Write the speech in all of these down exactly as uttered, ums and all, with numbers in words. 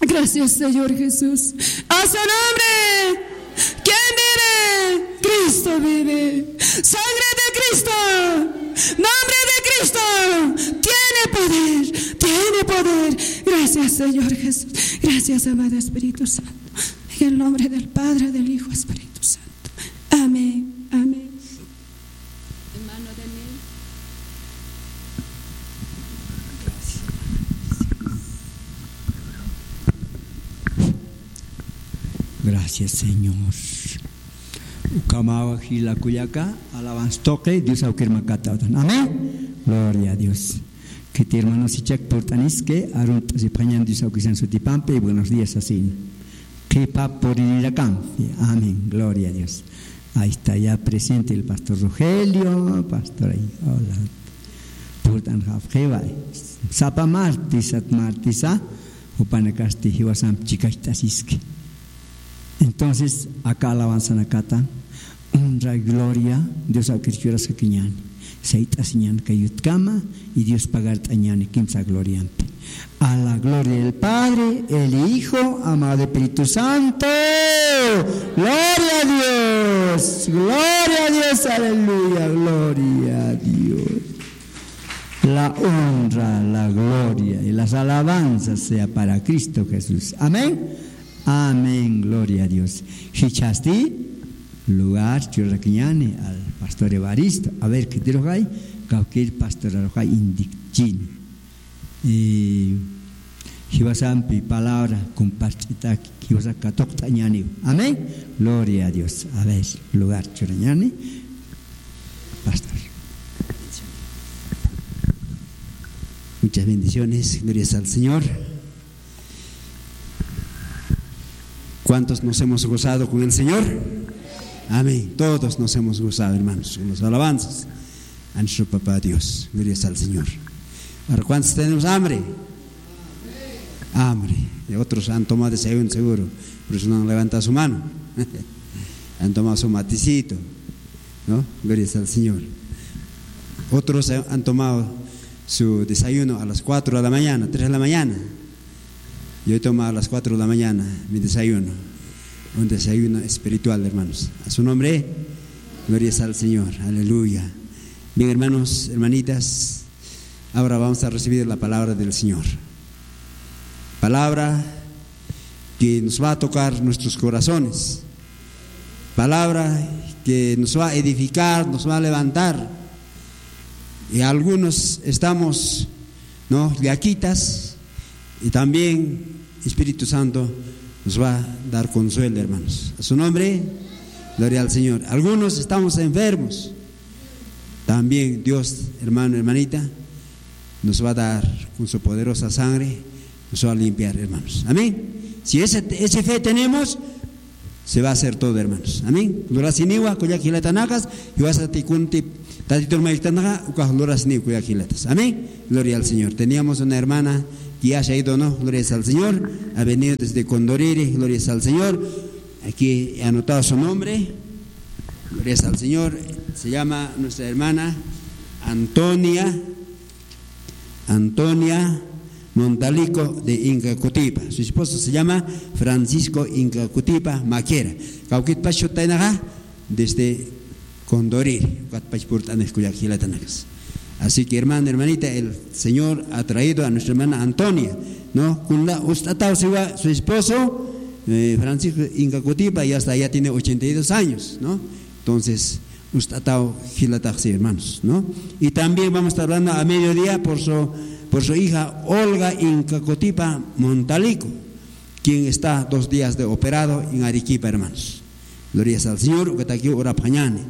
Gracias, Señor Jesús. A su nombre. ¿Quién vive? Cristo vive. Sangre de Cristo. Nombre de Cristo. Tiene poder. Tiene poder. Gracias, Señor Jesús. Gracias, amado Espíritu Santo. En el nombre del Padre, del Hijo, Espíritu Santo. Amén. Amén. Hermano Daniel. Gracias, Señor. Ukhamawa jila kullaka, alabanza tuqi, Dios awkir makata utan. Amén. Gloria a Dios. Kiti hermanos ichak purt'aniski, arunt'asipxañan Dios awkisan sutipampi, buenos días asin. Qhipa puririrakampi. Amén. Gloria a Dios. Ahí está ya presente el pastor Rogelio, pastor ahí. Hola. Purt'anxapxiwa. Sapa martes, sat martesa, jupanakasti jiwasamp chikacht'asiski. Entonces, aka alabanzanakata, honra y gloria, Dios awkir churaskakiñäni. Sayt'asiñäni kay yutkama, y Dios pagart'añäni kimsa gloriampi. A la gloria del Padre, el Hijo, amado Espíritu Santo. Gloria a Dios, gloria a Dios, aleluya, gloria a Dios. La honra, la gloria y las alabanzas sea para Cristo Jesús. Amén. Amén, gloria a Dios. Jichhasti lugar churarakiñäni al pastor Evaristo. A ver, khitirux ay, kawkïr pastorarux ay indikchini. Y jiwasampi palabra compart'itaki, jiwasak katuqt'añäniw. Amén. Gloria a Dios. A ver, lugar churañäni. Pastor. Muchas bendiciones. Gloria al Señor. ¿Cuántos nos hemos gozado con el Señor? Amén. Todos nos hemos gozado, hermanos, con las alabanzas a nuestro Papá Dios. Gloria al Señor. Ahora, ¿cuántos tenemos hambre? Hambre. Y otros han tomado desayuno seguro. Por eso no han levantado su mano. Han tomado su matecito, ¿no? Gloria al Señor. Otros han tomado su desayuno a las cuatro de la mañana, tres de la mañana. Yo he tomado a las cuatro de la mañana mi desayuno. Un desayuno espiritual, hermanos. A su nombre, gloria al Señor. Aleluya. Bien, hermanos, hermanitas, ahora vamos a recibir la palabra del Señor. Palabra que nos va a tocar nuestros corazones. Palabra que nos va a edificar, nos va a levantar. Y algunos estamos, ¿no?, llaquitas, y también Espíritu Santo nos va a dar consuelo, hermanos. A su nombre, gloria al Señor. Algunos estamos enfermos. También Dios, hermano, hermanita, nos va a dar con su poderosa sangre, nos va a limpiar, hermanos. Amén. Si esa, esa fe tenemos, se va a hacer todo, hermanos. Amén. Lurasiniwa, kullak jilatanakas, jiwasati kunti, Tatitur maytanaxa, ukax lurasiniw, kullak jilatas. Amén. Gloria al Señor. Teníamos una hermana que ya se ha ido, ¿no? Gloria al Señor. Ha venido desde Condoriri, gloria al Señor. Aquí he anotado su nombre. Gloria al Señor. Se llama nuestra hermana Antonia, Antonia Montalico de Inca Cutipa. Su esposo se llama Francisco Inca Cutipa Maquera. Kawkitpach sutaynaxa desde Condoriri, ukatpach purt'anix kullak jilatanakas. Así que, hermana, hermanita, el Señor ha traído a nuestra hermana Antonia, ¿no? Kunla ust'ataw siwa su esposo, eh, Francisco Inca Cutipa, ya está, ya tiene ochenta y dos años, ¿no? Entonces, ust'ataw jilataxsi, hermanos, ¿no? Y también vamos a estar hablando a mediodía por su, por su hija Olga Inca Cutipa Montalico, quien está dos días de operado en Arequipa, hermanos. Gloria al Señor, ukatakiw urapxañäni.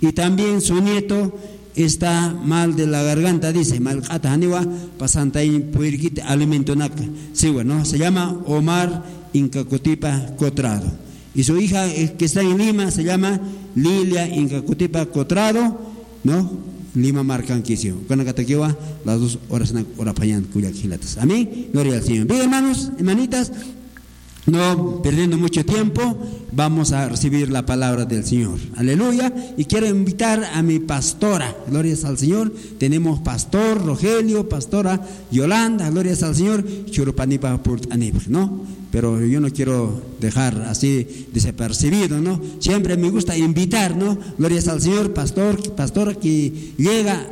Y también su nieto está mal de la garganta, dice, mal q'ata janiwa, pasantay puirkiti alimentonaka. Sí, bueno, se llama Omar Inca Cutipa Cotrado. Y su hija, eh, que está en Lima, se llama Lilia Inca Cutipa Cotrado, ¿no? Lima markankisiw. Ukanakatakiwa, las dos horas na urapxañän kullak jilatas. Amén. Gloria al Señor. Bien, hermanos, hermanitas, No perdiendo mucho tiempo, vamos a recibir la palabra del Señor. Aleluya. Y quiero invitar a mi pastora. Glorias al Señor. Tenemos pastor Rogelio, pastora Yolanda. Glorias al Señor. Churupanipa purt'anipx, ¿no? Pero yo no quiero dejar así desapercibido, ¿no? Siempre me gusta invitar, ¿no? Glorias al Señor, pastor, pastora que llega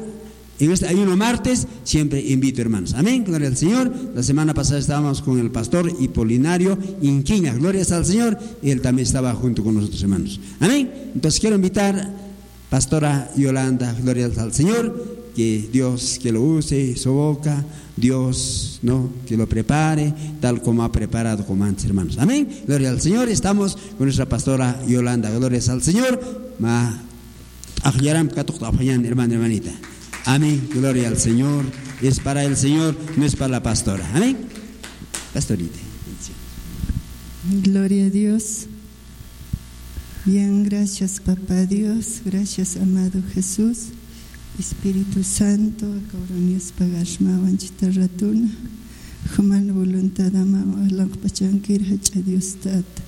en este ayuno martes, siempre invito, hermanos. Amén. Gloria al Señor. La semana pasada estábamos con el pastor Hipolinario Inquiña. Glorias al Señor. Él también estaba junto con nosotros, hermanos. Amén. Entonces quiero invitar pastora Yolanda, gloria al Señor, que Dios que lo use, su boca, Dios, ¿no? Que lo prepare, tal como ha preparado como antes, hermanos. Amén. Gloria al Señor. Estamos con nuestra pastora Yolanda. Glorias al Señor. Ma Ajllaram katuqt'apxañän, hermano, hermanita. Amén. Gloria al Señor. Es para el Señor, no es para la pastora. Amén. Pastorita. Gloria a Dios. Bien, gracias, papá Dios. Gracias, amado Jesús. Espíritu Santo, akauranius pagasma wanchita ratuna. Juman voluntad ama alanqpachankir jach'a Dios Tata.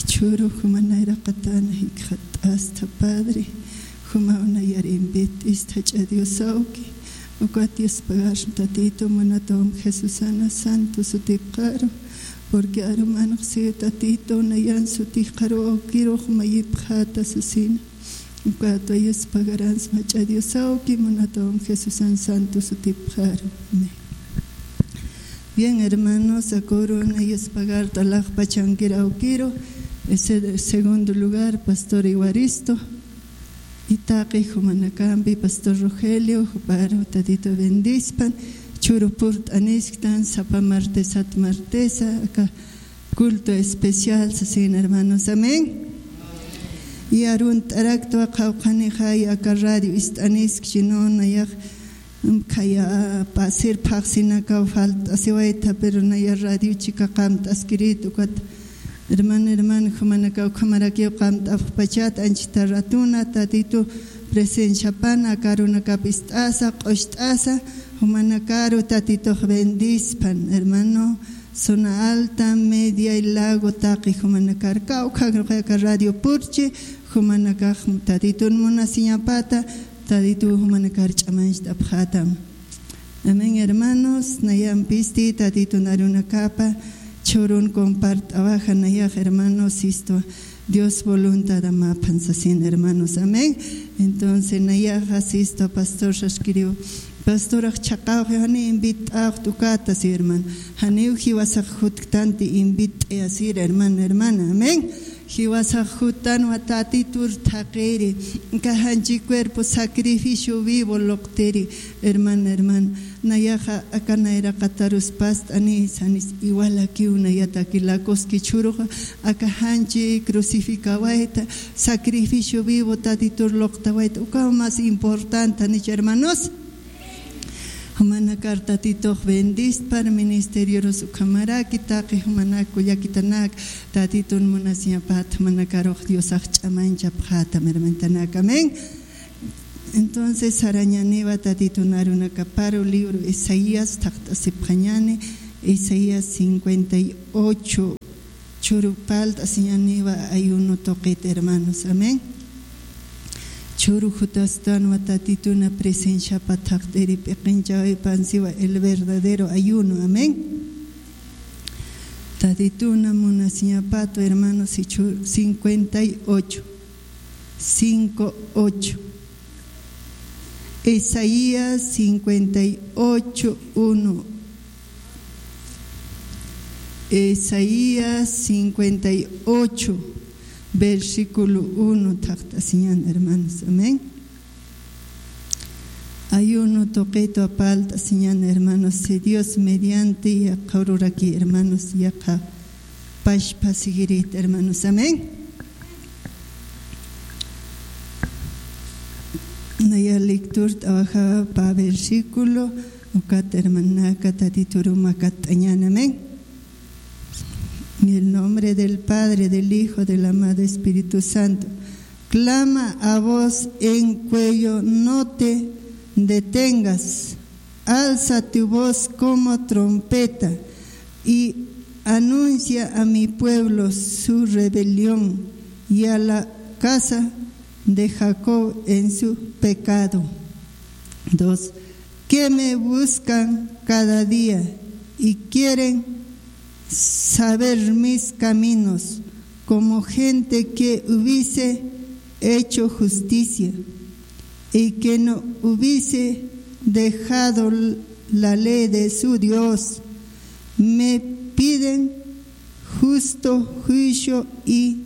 Chhuru juman nayraqatana jikxat'asta, Padre. Jumaw nayar invit'ista jach'a Dios awki. Ukat Dios pagasma Tatito, munatawam Jesusana santo sutipxaru. Porque arumanx siw Tatito, nayan sutipxaru awkirux mayipxata sasina. Ukat Dios pagaransma jach'a Dios awki, munatawam Jesusan santo sutipxaru. Amén. Bien, hermanos, akürun Dios pagarta alaxpachankir awkiru. Ese segundo lugar, pastor Evaristo. Y taqi jumanakampi, pastor Rogelio, juparu Tatito bendispan. Chhuru purt'anisktan, sapa martesat martesa, aka culto especial, sasin, hermanos. Amén. Y arunt'araktwa qhawqhanixay aka radio ist'anisk, sino nayax khaya pasir phaxsinakaw falt'asiwayta, pero naya radio chika qamt'askirit ukat. Hermano, hermano, jumanakaw ukhamarakiw qamt'apxpachat anchita ratuna, Tatitu presenciapana, aka arunakap ist'asa, q'ucht'asa, jumanakaru Tatitux bendispan, hermano. Zona Alta, Media y Lago taqi jumanakar kawkha, kawkha aka radio purchi, jumanakax Tatitun munasiñapata, Tatitu jumanakar ch'amancht'apxatam. Amén, hermanos. Nayampisti Tatitun arunakapa chhurun compart'awaxa nayax, hermanos, sisto. Dios voluntad amaphan sasin, hermanos. Amén. Entonces, nayaxa sisto pastor saskiriw. Pastorax chhaqawxi jani invit'aw tukata, si, hermano. Janiw jiwasax jutktanti invit'e asir, hermano, hermana. Amén. Jiwasax juttanwa Tatitur thaqiri. Kajanchi cuerpo sacrificio vivo luqtiri, hermano, hermana. Nayaxa aka nayraqatarus past'ani, sanis igual akiw nayataki lakuski chhuruxa, aka janchi crucificawayta, sacrificio vivo Tatitur luqtawayta, ukaw más importante, ¿janich, hermanos? Jumanakar Tatitux bendispar, ministerioros ukhamaraki, taqi jumanak kullakitanak, Tatitun munasiñapat, jumanakarux Diosax ch'amanchapxatam, hermanitanak. Amén. Entonces, sarañaniwa Tatitun arunakaparu libro Isaías, thaqt'asipxañani, Isaías cincuenta y ocho, chhuru palt'asiñaniwa ayuno tuqit, hermanos. Amén. Chhuru jutastanwa Tatituna presenciapa thaqt'iri p'iqinchawipansiwa el verdadero ayuno. Amén. Tatituna munasiñapatu, hermanos, y chhuru cincuenta y ocho. Cinco ocho. Isaías cincuenta y ocho uno. Isaías cincuenta y ocho, versículo uno, thaqt'asiñan, hermanos. Amén. Ayuno tuqitwa palt'asiñan, hermanos. Si Dios mediante, yaqha ururaki, hermanos, yaqha pachpa siguirit, hermanos. Amén. Naya lectura trabaja pa versículo, ukat hermanaka Tatituru makat'añan. Amén. En el nombre del Padre, del Hijo, del amado Espíritu Santo. Clama a voz en cuello, no te detengas. Alza tu voz como trompeta y anuncia a mi pueblo su rebelión y a la casa de Jacob en su pecado. Dos, que me buscan cada día y quieren saber mis caminos, como gente que hubiese hecho justicia y que no hubiese dejado la ley de su Dios. Me piden justo juicio y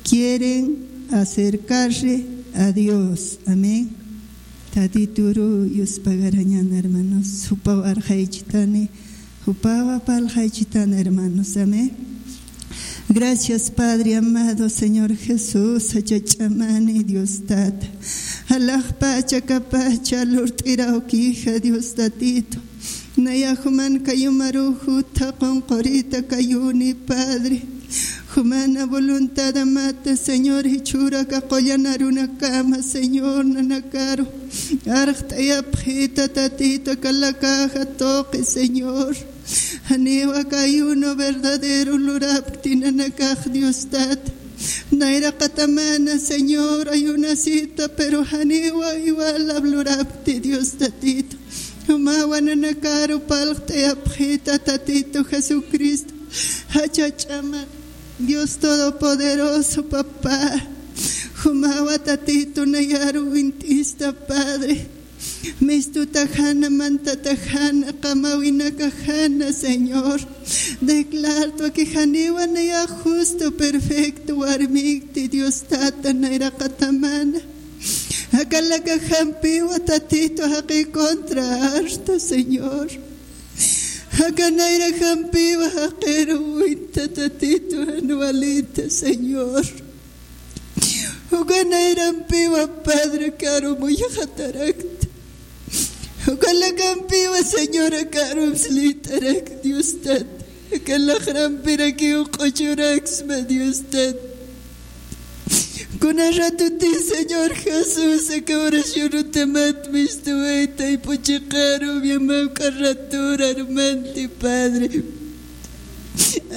quieren acercarse a Dios. Amén. Tatituru yuspagarañan, hermanos. Jupaw arxaychitani, jupawa parlxaychitani, hermanos. Amén. Gracias, Padre amado, Señor Jesús, jach'a ch'amani, Dios Tata. Alaxpacha kapacha lurt'irawkija, Dios Tatito. Naya juman kayumaruxu thaqunqurita kayuni, Padre. Jumana voluntad amata, Señor, jichhüruka qullan arunakama, Señor, nanakaru arxt'ayapxita, Tatito, aka lakaxa tuqi, Señor. Janiwa aka ayuno verdadero lurapkti nanakax, Dios Tata. Nayraqatamana, Señor, ayunasita, pero janiwa igual lurapkti, Dios Tatito. Jumawa nanakaru parlt'ayapxita, Tatito Jesucristo. Jach'a ch'ama Dios Todopoderoso, Papá. Jumawa, Tatito, nayaru wint'ista, Padre. Mistutajana, mantatajana, qamawinakajana, Señor. Declarto que janiwa nayax justo, perfecto warmikti, Dios Tata, nayraqatamana. Aka lakaxampiwa, Tatito, jaqi contra arta, Señor. Aka nayraqampiwa jaqiru winta, Tatito, jan walita, Señor. Uka nayrampiwa, Padre, karu muyxatarakta. Uka lakampiwa, Señora, karu mslitarak, Dios Tata. Aka laxrampirakiw q'uchuraksma, Dios Tata. Kuna ratuti, Señor Jesús, aka oracionutamat mistuwayta, taypu chiqaru, yamawk'a ratur armanti, Padre.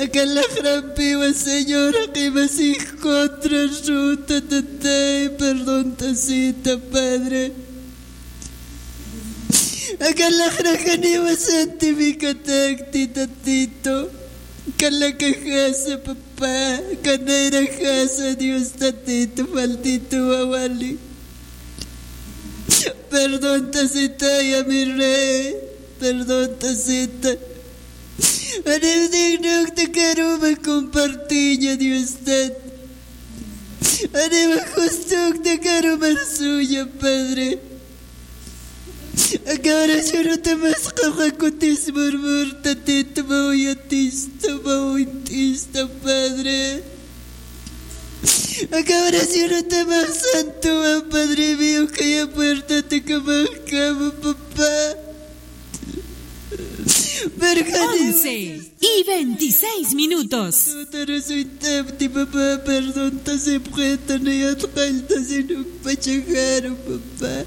Aka laxrampiwa, Señor, jaqi masix contra ruta, Tatay, perdont'asita, Padre. Aka laxraxaniwa santificatakti, Tatito. Aka lakaxasa, Papá, aka nayraqasa, Dios Tatito, faltituwa wali. Perdont'asitaya, mi Rey, perdont'asita. Janiw dignokta karuma compartiña, Dios Tata. Janiw justukta karuma arsuña, Padre. Aka oracionutamas qawqha kutis murmur, Tatito, mä yatista, mä wint'ista, Padre. Aka oracionutamas santuwa, Padre mío, khaya puertatakamas kama, Papá. Once y veintiséis minutos. Santo oracionutati, Papá, perdont'asipxita, nayat qalltasin uk pachajaru, Papá.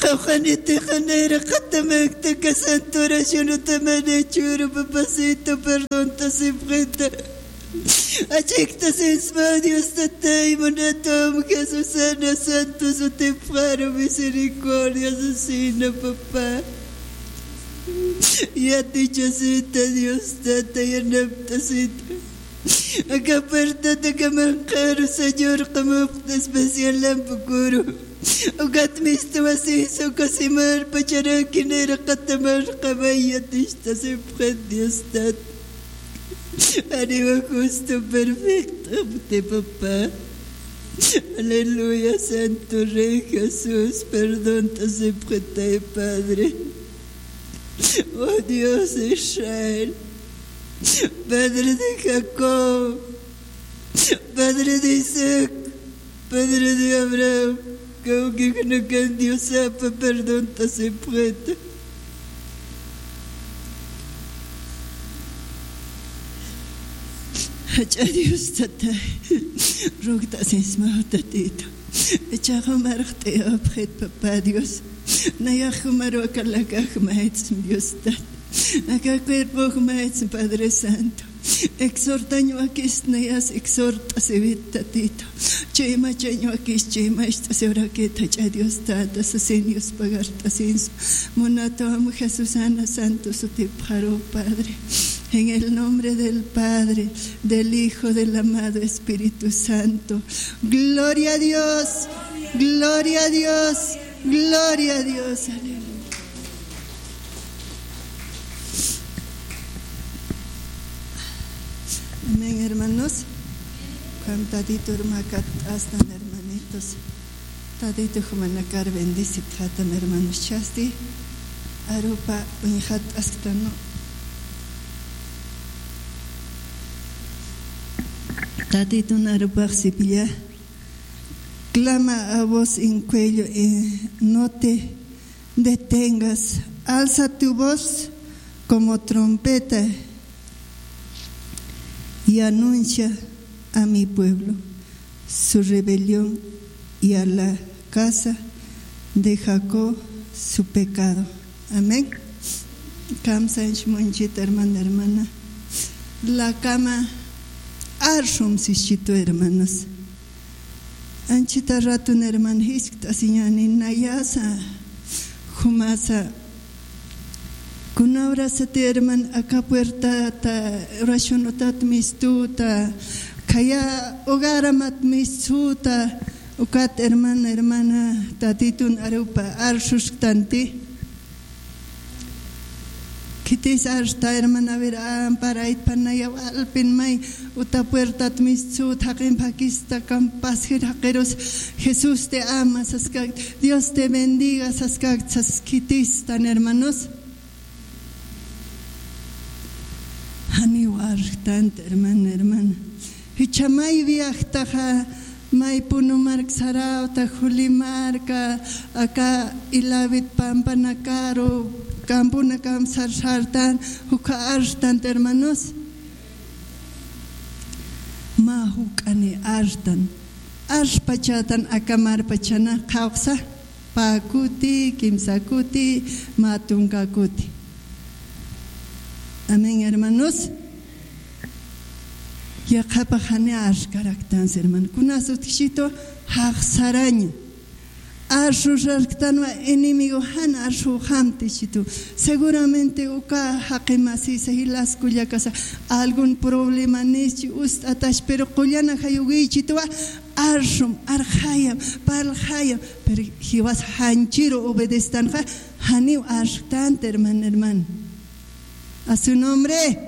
Qawqhanitixa nayraqatamakta aka santo oracionutaman jichhüru, Papacito, perdont'asipxita. Achiktasisma, Dios Tatay, munatwam Jesusana santo sutipxaru, misericordia asesina, Papá. Yatichasita, Dios Tata, yanapt'asita. Aka puertatakamas q'aru, Señor, qamapxta especial lampukuru. Ukat mistuwasisa, uka simarpacharaki nayraqatamas qamay yatichtasipxit, Dios Tata. Janiwa justo perfecto, Papá. Aleluya, Santo Rey Jesús, perdont'asipxitay, Padre. Oh Dios de Israel, Padre de Jacob, Padre de Isaac, Padre de Abraham, kawkixnakan Diosapa perdont'asipxita. Jach'a Dios Tatay, rogt'asisma Tatito. Jichhax jumar arxt'ayapxit, Papá Dios. Nayax jumaru aka lakax maytsma, Dios Tata. Aka cuerpo jumaytsa, Padre Santo. Exhortañ wakis nayas, exhort'asiwit, Tatitu. Chayma chañ wakis, chayma ist'asiw rakit, jach'a Dios Tata sasin, Dios pagart'asinsu. Munatwam Jesús ana santo sutipxaru, Padre. En el nombre del Padre, del Hijo, del amado Espíritu Santo. Gloria a Dios, gloria a Dios, gloria a Dios. Aleluya. Amén, hermanos. Ukham Tatitur makat'astan, hermanitos. Tatitu jumanakar bendecipxätan, hermanos. Chasti arupa uñjat'asktan, ¿no? Tatitun arupax sipilla. Clama a voz en cuello, eh, no te detengas, alza tu voz como trompeta y anuncia a mi pueblo su rebelión y a la casa de Jacob su pecado. Amén. Kamsañ munchit, hermana, hermana. Lakama arxum sischitu, hermanos. Anchita ratun, hermana, jiskt'asiñäni nayasa, jumasa. Kuna horasati, hermana, aka puertata, oración utat mistuta, khaya hogaramat mistuta, ukat, hermana, hermana, Tatitun arupa arsusktanti. Khitis arsta, hermana, a ver, amparaytpan naya walpin may uta puertat mistsut jaqin phakista, kampasjir jaqirus, Jesús te ama saskakt, Dios te bendiga saskakt, sas khitistan, hermanos. Janiw arxtant, hermana, hermana. Jichha may viajtaxa, may Puno mark sarawta, Juli marka, aka Ilawit pampanakaru, kampunakam sar sartan, jukha arxtant, hermanos. Mä juk'ani arxtan. Arxpachätan aka marpachana qhawqsa. Pä kuti, kimsa kuti, mä tunka kuti. Amén, hermanos. Yaqhapax jani arxkaraktansa, hermano. Kunas utjchitu, jaxsaraña. Arxurarktanwa enemigo, jan arxuxamtisitu. Seguramente uka jaqi masisa, jilas kullakasa, algún problema nischi ust'atash, pero qullan ajayuwichituwa, arxum, arxayam, parlxayam, pero jiwas janchiru obedestanxa, janiw arxtant, hermano, hermano. A su nombre.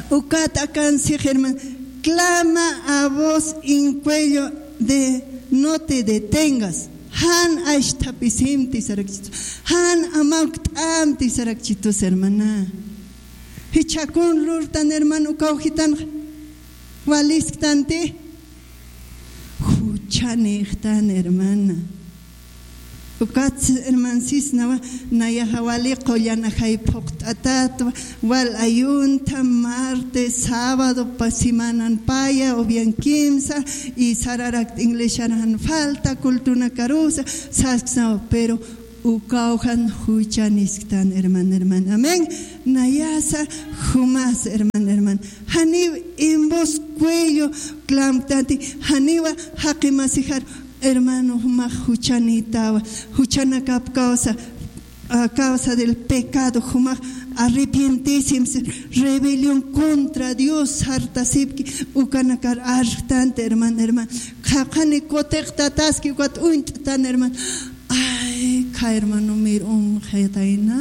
Ukat akansix, hermano. Clama a voz en cuello de no te detengas. Jan ashthapisimti sarakchitu. Jan amawkt'amti sarakchitus, hermana. Jichhakun lurtan, hermano, uka ujitan walisktanti. Juchanixtan, hermana. Ukat, hermansisnawa, nayaxa wali qullan ajay phuqt'atatwa, wal ayunta, martes, sábado, pa semanan paya, o bien kimsa, y sararakt iglesian jan falta, cultunakarusa, sasksnawa, pero ukawjan juchanisktan, hermana, hermana. Amén. Nayasa, jumas, hermana, hermana. Janiw en voz cuello clamtanti, janiwa jaqi masijar, hermano, jumax juchanitawa, juchanakap causa, a causa del pecado, jumax arrepientisimsi, rebelión contra Dios sartasipki, ukanakar arxtanti, hermano, hermano. Qhaqhani kutiqtataski, ukat uñt'tan, hermano. Ay, kha hermano, mir um xetayna.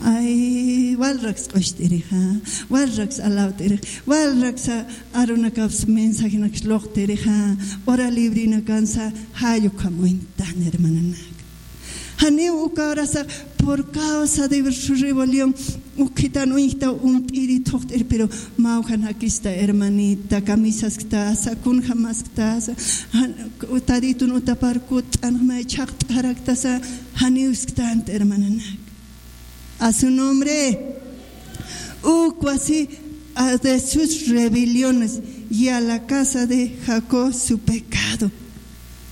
Ay, walraks q'ucht'irixa, walraks alawt'irix, walraks arunakaps mensajenaks luqt'irixa, hora librinakansa, jall ukham uñtan, hermananak. Janiw uka horasa, por causa de su rebelión, ukhitan uñjta umt'iri thuqt'ir, pero mawjan jakista, hermanita, kamisasktasa, kunjamasktasa, jan-, Tatitun utapar kutt'anxmay chhaqt'araktasa, janiw isktant, hermananak. A su nombre. Ukwa si, a de sus rebeliones, y a la casa de Jacob su pecado.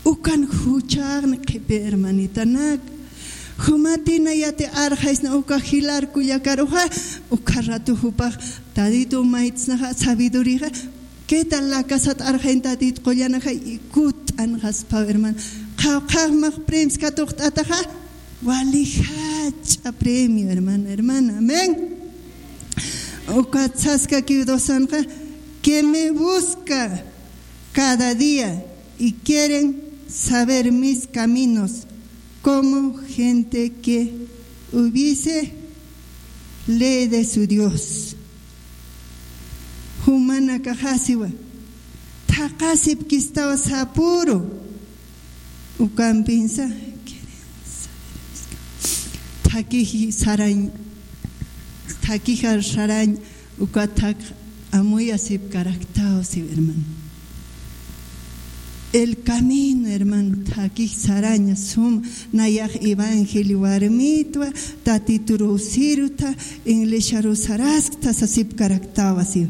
Ukan juchaqni qhipi, hermanitanak. Jumatina yati arxaysna uka jilar kullakaruxa, uka ratu jupax taditu maytsnaxa sabidurixa, qué tal la casat arxayn tadit qullanaxa, ikut'an jaspaw hermano. Qhawqhaxmax premios katuqt'ataxa, wali jach'a premio hermano, hermana, amén. Uka tsaska kiwdosanxa, que me busca cada día y quieren saber mis caminos, como gente que hubiese ley de su Dios. Jumanakaxasiwa, thaqasipkistawa sapuru. Ukampinsa, thakiji sarañ, thakijar sarañ, uka thak amuyasipkaraktaw siw hermano. El camino, hermano, thakij saraña sum, nayax evangelio warmitwa, tatituruw sirta, iglesiaruw saraskta sasipkaraktawa siw.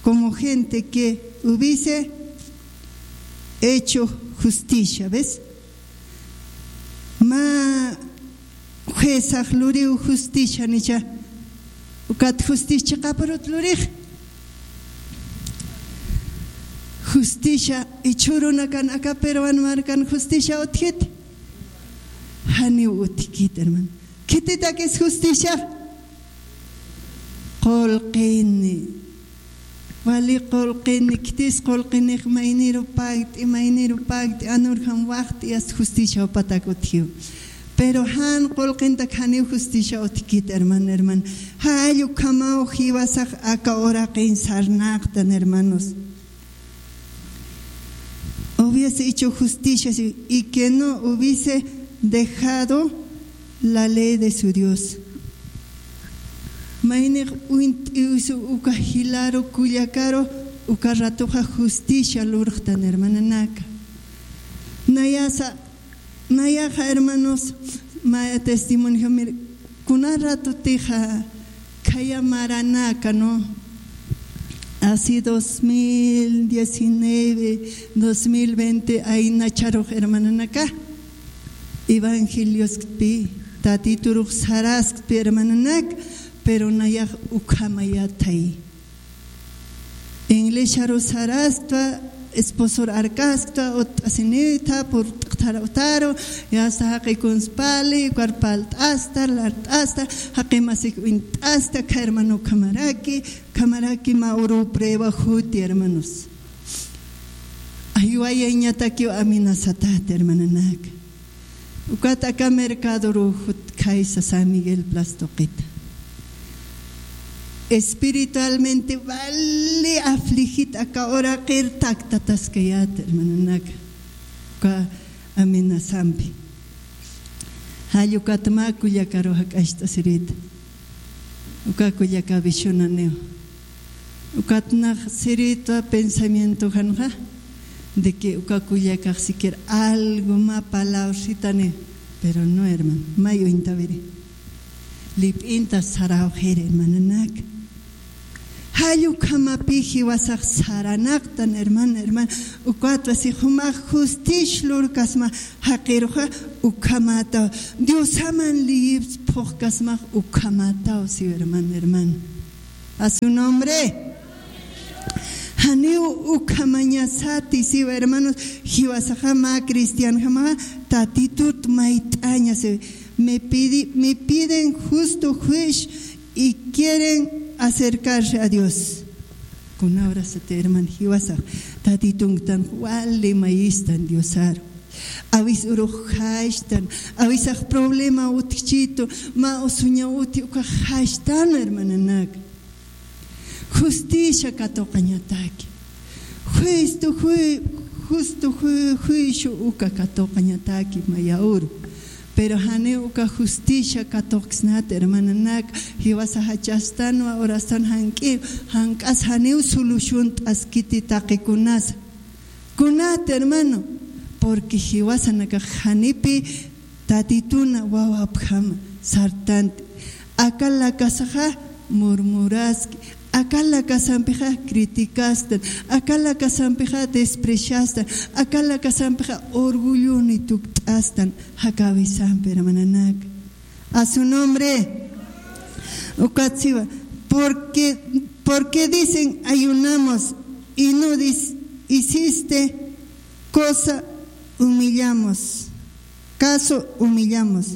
Como gente que hubiese hecho justicia, ¿ves? Mä juezax luriw justicia nicha. Ukat justicia chiqapurut lurix. Justicia ichhurunakan aka peruan markan justicia utjit. Janiw utjkit, hermano. Khititakis justicia. Qullqini. Wali qullqini, khitis qullqinix mayniru pakt'i, mayniru pakt'i, anurjam waxt'i, as justicia upatak utjiw. Pero jan qullqintak janiw justicia utjkit, hermano, hermano. Jall ukhamaw jiwasax aka uraqin sarnaqtan, hermanos. Hubiese hecho justicia, sí, y que no hubiese dejado la ley de su Dios. Maynix uñt'iwsu uka jilaru kullakaru, uka ratuxa justicia lurxtan, hermananaka. Nayasa, nayaxa, hermanos, maya testimonio, mire, kuna ratutixa khaya maranaka, ¿no? Así dos mil diecinueve, dos mil veinte, aynacharux, hermananaka, evangelioskpi, tatiturux saraskpi, hermananak, pero nayax ukhamayatay. Iglesiaru sarastwa, esposor arkasktwa, utt'asinita, purt'kthara utaru, yasta jaqi kunspali, ukar palt'asta, lart'asta, jaqi masik uñt'asta, kha hermano ukhamaraki, ukhamaraki mä uru prueba juti, hermanos. Aywayañatakiw amenazatat, hermananak. Ukat aka mercadoru jutkhaysa San Miguel Plaza tuqita. Espiritualmente wali afligit aka uraqir taktataskayat, hermananaka. Uka amenazampi. Jall ukat mä kullakaru jak'acht'asirita. Uka kullaka visionaniw. Ukat nax sirita pensamientojanxa de que uka kullakax siquiera algo mä palabrita niw. Pero no, hermano, may uñtawiri. Lip'inta sarawxiri, hermananak. Jall ukhamapï jiwasax saranaqtan, hermano, hermano. Ukatwa si jumax justicia lurkasma jaqiruxa ukhamätaw. Diosaman liyïps phuqkasmax ukhamätaw, siw, hermano, hermano. A su nombre. Janiw ukhamañasati, siw, hermanos, jiwasaxa mä cristianjamaxa tatitut mayt'aña, siw. Me pidi-, me piden justo juicio y quieren acercarse a Dios. Kuna urasati, hermano, jiwasax tatitunktan wali mayistan Diosaru. Awis urux jashtan, awisax problema utjchitu, mä usuña uti ukax jashtan, hermananak. Justicia katuqañataki. Justo ju-, justo ju-, juicio uka katuqañataki maya uru. Pero janiw uka justicia katuqksnat, hermananak, jiwasa jachastanwa, urastan jank'i, jank'as janiw solución t'askiti taqikunasa. Kunat, hermano, porque jiwasanakax janipï tatituna wawapjama sartanti. Aka lakasaxa murmuraski, Aka lakasampixa criticasktan, aka lakasampixa despreciastan, aka lakasampixa orgulloni tukt'astan, jakawisampi hermananaka. A su nombre. Ukatsiwa. Porque, porque dicen ayunamos y no dis- hiciste cosa, humillamos. Caso, humillamos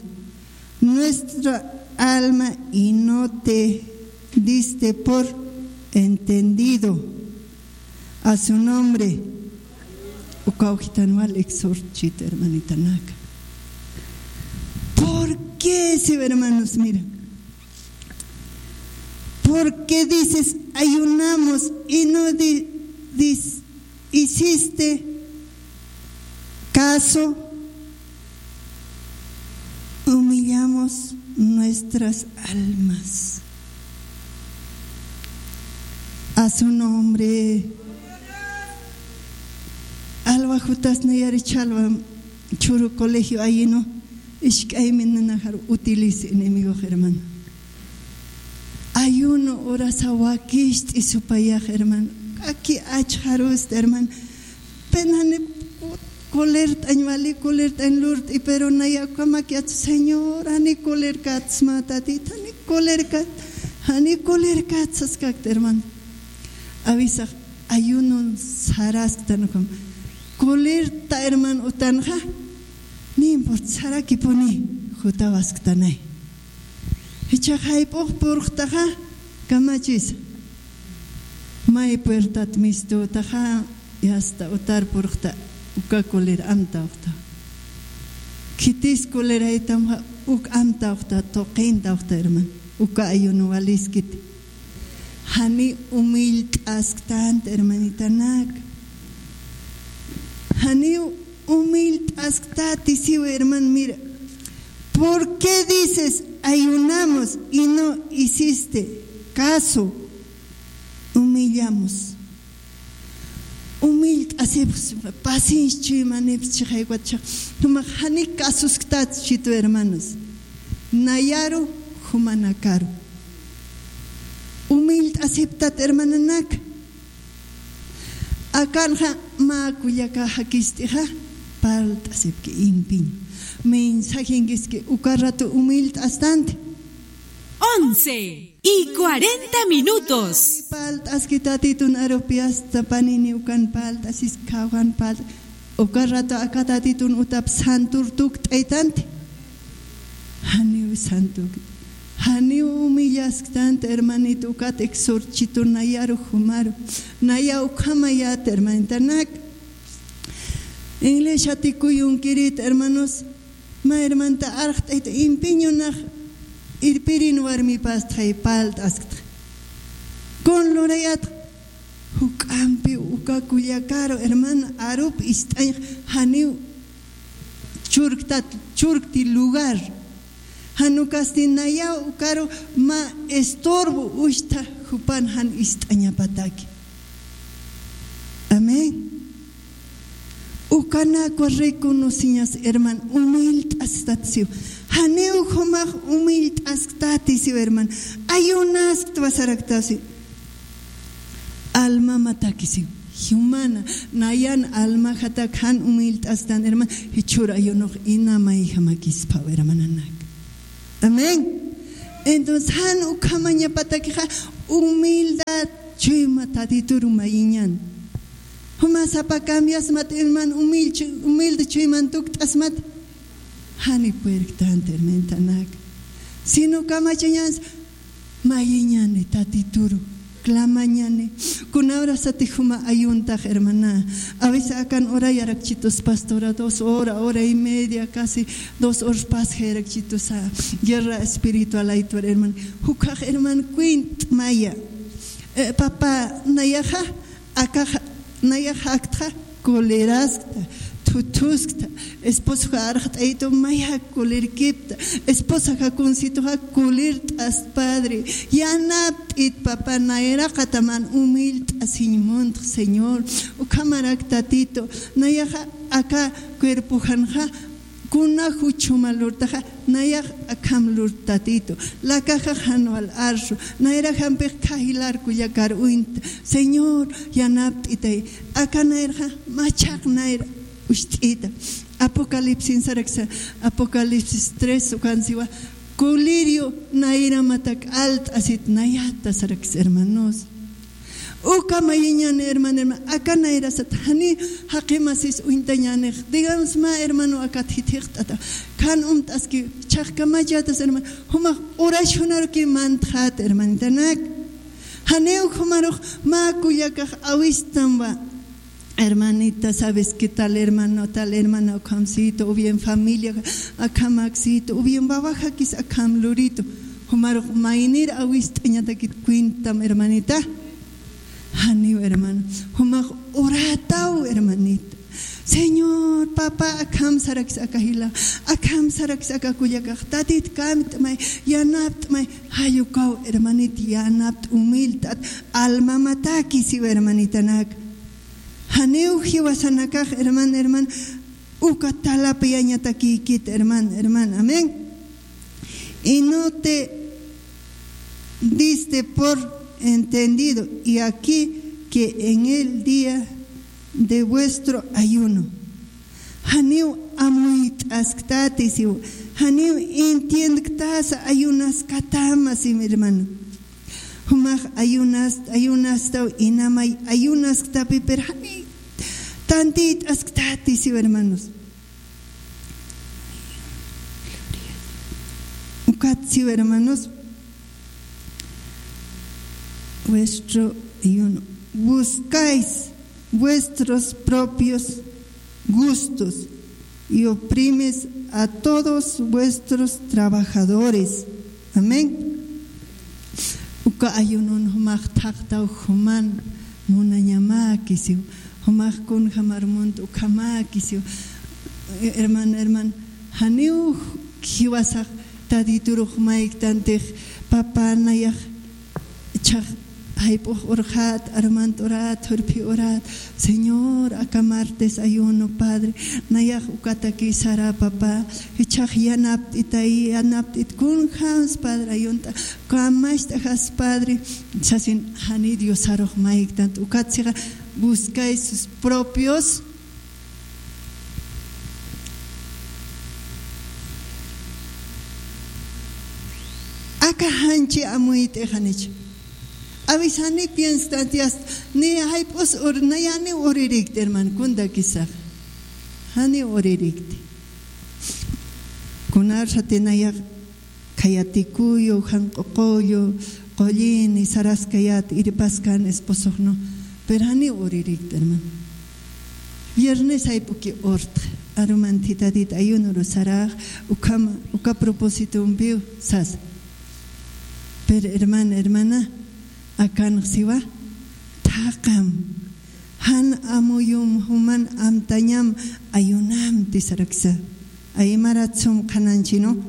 nuestra alma y no te diste por entendido a su nombre. Ukaw jitan wal exhortchit hermanitanaka. ¿Por qué si hermanos? Mira. ¿Por qué dices ayunamos y no di- dis- hiciste caso? Humillamos nuestras almas. A su nombre. Alwa jutas nayari chalwa churu colegio ayino. Isk'aymi nanajar utilice enemigo, hermano. Ayuno urasa wakist'i supayax, hermano. Aki achxarusti, hermano. Penani colert'añ wali, colert'añ lurt'i, pero naya ukhamakiat, Señor, jani colerkatsma, Tatit, jani colerkat, jani colerkat saskakta, hermano. Awisax ayunon sarasktan ukham. Colerta, hermano, utanxa. No importa, sarakipuni, jutawasktanay. Jichhax jayp'ux purxtaxa, kamachis. May puertat mistutaxa, yasta utar purxta, uka coler amtawxta. Khitis coleraytamxa, uk amtawxta, tuqintawxta, hermano. Uka ayuno waliskiti. Jani humillt'asktanti, hermanitanak. Jani humillt'asktati siw, hermano, mira. ¿Por qué dices ayunamos y no hiciste caso? Humillamos. Humillt'asipxsma, paciencia chuymanipxsma, chixayk'at chix. Jumax jani kasusktat chitu, hermanos. Nayaru, jumanakaru. Humillt'asiptat, hermananak. Akanxa mä kullaka jakist'ixa, parlt'asipki, impiñ. Mensajenkiski uka rato humillt'astanti. Once y cuarenta minutos. Parlt'aski Tatitun arupiasta, panini ukan parlt'asis, kawkan parlt'as. Uka rato aka Tatitun utap santur tukt'aytanti. Janiw santuk. Janiw humillasktanti, hermanito, ukat exhortchitu nayaru jumaru. Naya ukhamayat, hermanitanak. Iglesiati kuyunkirit, hermanos. Mä hermanta arxt'ayta impiñunax irpirin warmipastxay parlt'asktxa. Kun lurayatxa, juk'ampi uka kullakaru, hermano, arup ist'añx janiw churktat, churkti lugar. Jan ukasti nayaw ukaru mä estorbo uchtha jupan jan ist'añapataki. Amén. Ukanakwa reconoceñas, hermano, humildad stat siw. Janiw jumax humildad stati siw, hermano. Ayunaskta sarakta siw. Alma mataki siw. Humana, nayan alma jatak jan humildad stan, hermano. Jichhur ayunux ina mayjamakispa, hermananak. Amén. Entonces, jan ukhamañapatakixa humildad chuyma Tatituru mayiñan. Juma sapa cambiasmat, hermano, humil-, humilde chuyman tukt'asmat. Jani puerktanta, hermanitanak. Sino kamachañans, mayiñani Tatituru, clamañani. Kunawrasati juma ayuntax, hermana. A veces akan urayarakchitus pastora, dos hora, hora y media, casi dos horas pasjayarakchitusa. Guerra espiritual aytwar, hermano. Jukhax, hermano, cuentmaya. Eh, papá, nayaxa, akaxa, nayaxa aktxa, coleraskta, thuthuskta, esposoxa arxt'aytu, maya colerkipta, esposa jakunsituxa colert'ast, padre, yanapt'it, papá, nayraqataman humildt'asiñ muntx, Señor, ukhamarak Tatito, nayaxa aka cuerpojanxa, Kuna juchuma lurtaxa, nayax akham lurtatitu. Lakaxax jan wal arsu. Nayraxampix khajilar kullakar uñta. Señor, yanapt'itay. Aka nayraxa machaq nayra ucht'ita. Apocalipsis saraksa, Apocalipsis tres ukansiwa. Colirio nayramatak alt'asit nayata saraksa, hermanos. Uka mayiñan, hermano, hermano, aka nayrasat jani jaqimasis uñtañanix. Digamos, mä hermano akat jithiqt'ata. Kan umt'aski chaqkamachatas, hermano. Jumax oracionaruki mantxat, hermanitanak. Janiw jumarux mä kullakax awistam wa. Hermanita, ¿sabes qué tal hermano, tal hermana ukhamsitu, o bien familia akhamaksitu, o bien wawajakis akham luritu? Jumarux maynir awist'añatakit cuentam, hermanita. Janiw, hermano. Jumax orataw, hermanita. Señor, papá, akham sarakis aka jila, akham sarakis aka kullakax, tatit kamt'may, yanapt'may, jayukaw, hermanita, yanapt, humilt'at, almamataki siw, hermanitanak. Janiw jiwasanakax, hermano, hermano, uka talapiyañatakïkit, hermano, hermano. Amén. Y no te diste por entendido, y aquí que en el día de vuestro ayuno. Janiw amuyt'asktati siw, janiw entiendktasa ayunaskatama siw, hermano. Jumax ayunas, ayunastaw inamay ayunasktapi, pero jani tantit'asktati siw, hermanos. Ukat siw, hermanos, vuestro ayuno. Buscáis vuestros propios gustos y oprimes a todos vuestros trabajadores. Amén. Uka ayunon jumax thaqtaw juman munañamäkisiw. Jumax kunjamar munt ukhamäkisiw. Hermano, hermano, janiw jiwasax Tatiturux mayktantix, papá, nayax Ichhax jayp'ux urxat, armant urat, jurphi urat, Señor, aka martes ayuno, Padre, nayax ukataki sara, papá, ichhax yanapt'itay, yanapt'it kunjams, Padre, ayunt'a, kamacht'ajas, Padre, sasin, jani Diosarux mayktant, ukat sixa, buscáis sus propios Aka janchi amuyt'i janicha. Awisani pienstan tias ni jayp'us ur, nayani uririkti, hermano, kundakisax. Jani uririkti. Kunar satinayax khayatikuyu, janq'uqullu, qullini, saraskayat, irpaskan esposoxnu. Pero jani uririkti, hermano. Viernes jayp'uki urtx, arumanthitatit ayuno rusarax, ukhama, uka propósitompiw sas. Pero hermana, hermana, akanx siwa, thaqam, jan amuyum, juman amtañam, ayunamti saraksa. Aymarat sum qhananchinu.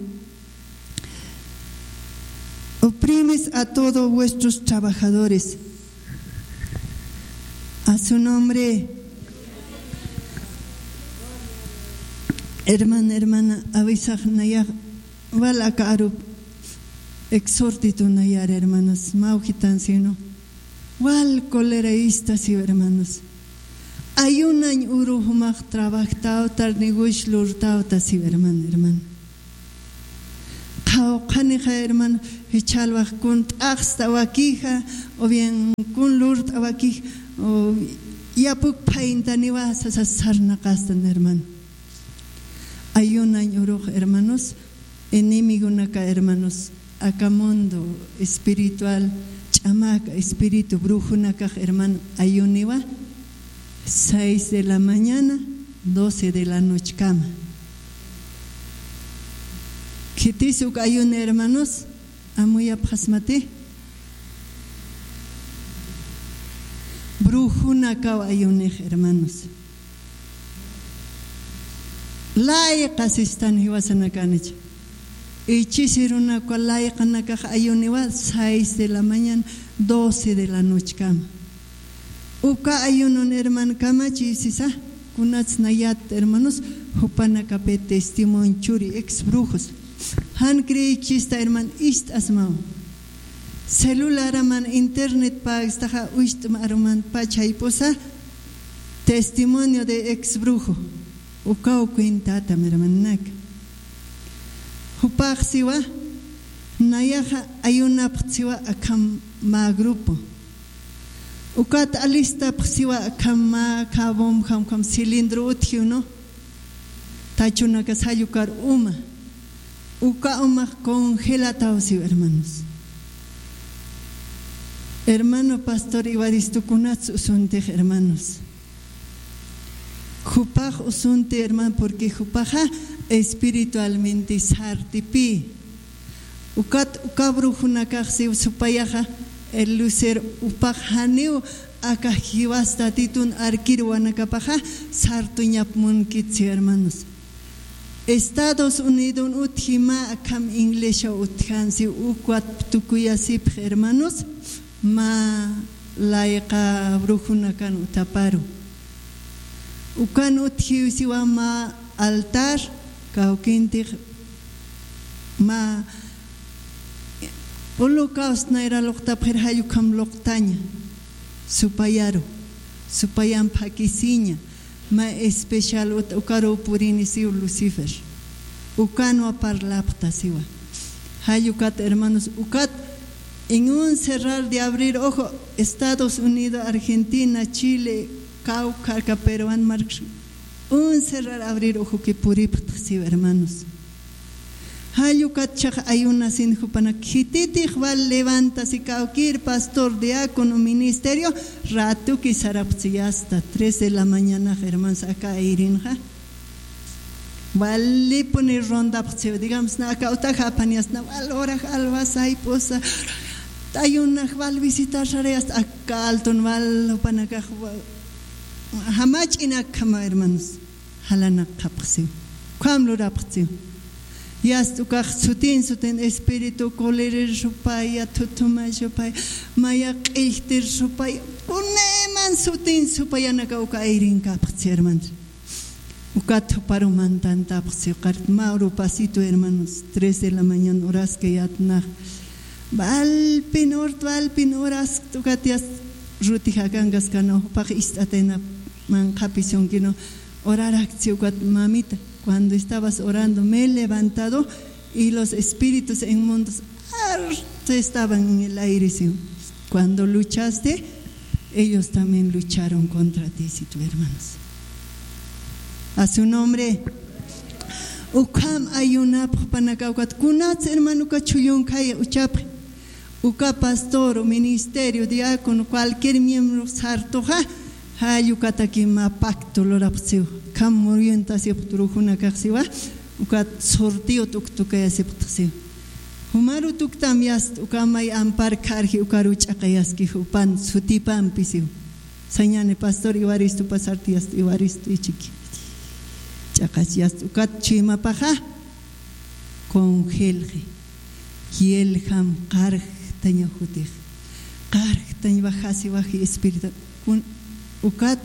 Oprimes a todos vuestros trabajadores. A su nombre. Hermana, hermana, awisax nayax wal aka arup exhortito nayar, hermanos, mawjitan sino. Wal coleraísta siw, hermanos. Ayunañ uru jumax trabajtawta, negocio lurtawta siw, hermano, hermano. Qhawqhanixa, hermano, jichhalwax kun t'axsta wakixa, o bien kun lurt'a wakix, o yapuk phayntaniwa sasa sarnaqastan, hermano. Ayunañ urux, hermanos, enemigonaka, hermanos, aka mundo espiritual, ch'amaka espíritu brujonakax, hermano, ayuniwa, seis de la mañana, doce de la nochekama. Khitis uk ayuni, hermanos, amuyapxasmati. Brujonakaw ayunix, hermanos. Layqa sistan jiwasanakanich. Ichisi runaka layqanakax ayuniwa seis de la mañana, doce de la nochekama. Uka ayunon, hermano, kamachi sisa. Kunats nayat, hermanos, jupanakapi testimonio churi, ex brujos. Jan creyichista, hermano, ist'asmaw. Celularaman internet pagstaxa ucht'ma aruman pachaypusa testimonio de ex brujo. Ukaw cuentatam, hermanaka. Jupax siwa, nayaxa ayunapxta siwa akham mä grupo. Ukat alistapxta siwa akham mä, khabum, kham, kham cilindro utjiw, ¿no? Tachunakas jallukar uma. Uka umax congelataw siw, hermanos. Hermano pastor Evaristo, kunats usuntix, hermanos. Jupax usunti, hermano, porque jupaxa espiritualmente sartipi. Ukat uka brujunakax siw supayaxa, el lucero upax janiw aka jiwas tatitun arquerowanakapaxa sartuñap munkit siw, hermanos. Estados Unidon utji mä akham iglesia utjan siw, ukat tukuyasipx, hermanos. Mä layqa brujunakan utaparu. Ukan utjiw siwa mä altar, kawkintix mä holocaust nayra luqtapxir, jall ukham luqtaña. Supayaru, supayam p'akisiña. Mä especial ut-, ukaruw purini siw Lucifer. Ukanwa parlapxta siwa. Jall ukat, hermanos, ukat en un cerrar de abrir ojo, Estados Unidos, Argentina, Chile, Cauca, Caperuán, Marcos, un cerrar abrir ojoki puripxta siw, hermanos. Jall ukat chax ayunasin jupanak, khititix wal levantasi kawkir pastor, diácono, ministerio, ratuki sarapxta siw, hasta tres de la mañana, hermanos, aka ayrinxa. Walipuni rondapxta siw, digamos, na aka utaja apaniasna, wal orax alwasaypusa, ayunax wal visitar sarayasta, aka altun wal jupanakax wa-, jamach'inak jama, hermanos. Jalanakxapxsiw. Ukham lurapxsiw. Yast ukax sutin sutin espíritu colerer supaya, thuthuma supaya, maya q'illtir supaya, kunayman sutin supayanaka uka ayrinkapxsiw, hermanos. Ukat juparu mantantapxsiw, qart mä urupasitu, hermanos, tres de la mañana horaskayätnax. Walpin urt, walpin horas, ukat yast ruti jakankaskana, jupax ist'atayna manqhapi sunkinu. Orarakchi ukat, mamita, cuando estabas orando, me he levantado y los espíritus inmundos harto estaban en el aire, siw. Cuando luchaste, ellos también lucharon contra ti, situ, hermanos. A su nombre. Ukham ayunapxpanaka ukat, kunats hermano uka chhullunkay uchapxi. Uka pastor, ministerio, diácono, cualquier miembro sartuxa, jall ukataki mä pacto lurapxsiw. Ukham muyuntasipxta brujunakax siwa, ukat sorteo tuktukayasipxtxsiw. Jumaru tuktam yast uka may ampar kharji ukaru ch'aqayaski jupan sutipampi siw. Sañani pastor Evaristo pasarti yast Evaristo ichiki. Ch'aqas yast ukat chuymapaxa congelji. Yelxam qarjtaña jutix. Qarjtañ wajasi waji espíritu. Kun-, ukat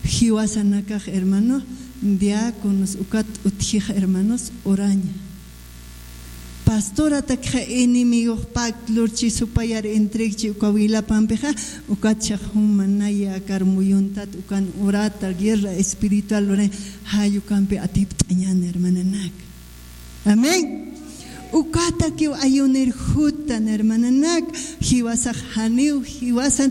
jiwasanakax, hermano, diáconos, ukat utjix, hermanos, oraña. Pastoratakxa enemigox pakt lurchi supayar entregchi uka wilapampixa, ukat chax jumanaya akar muyuntat ukan urata guerra espiritual lurañ, jall ukampi atipt'añan, hermananak. Amén. Ukatakiw ayunir jutan, hermananak, jiwasax janiw, jiwasan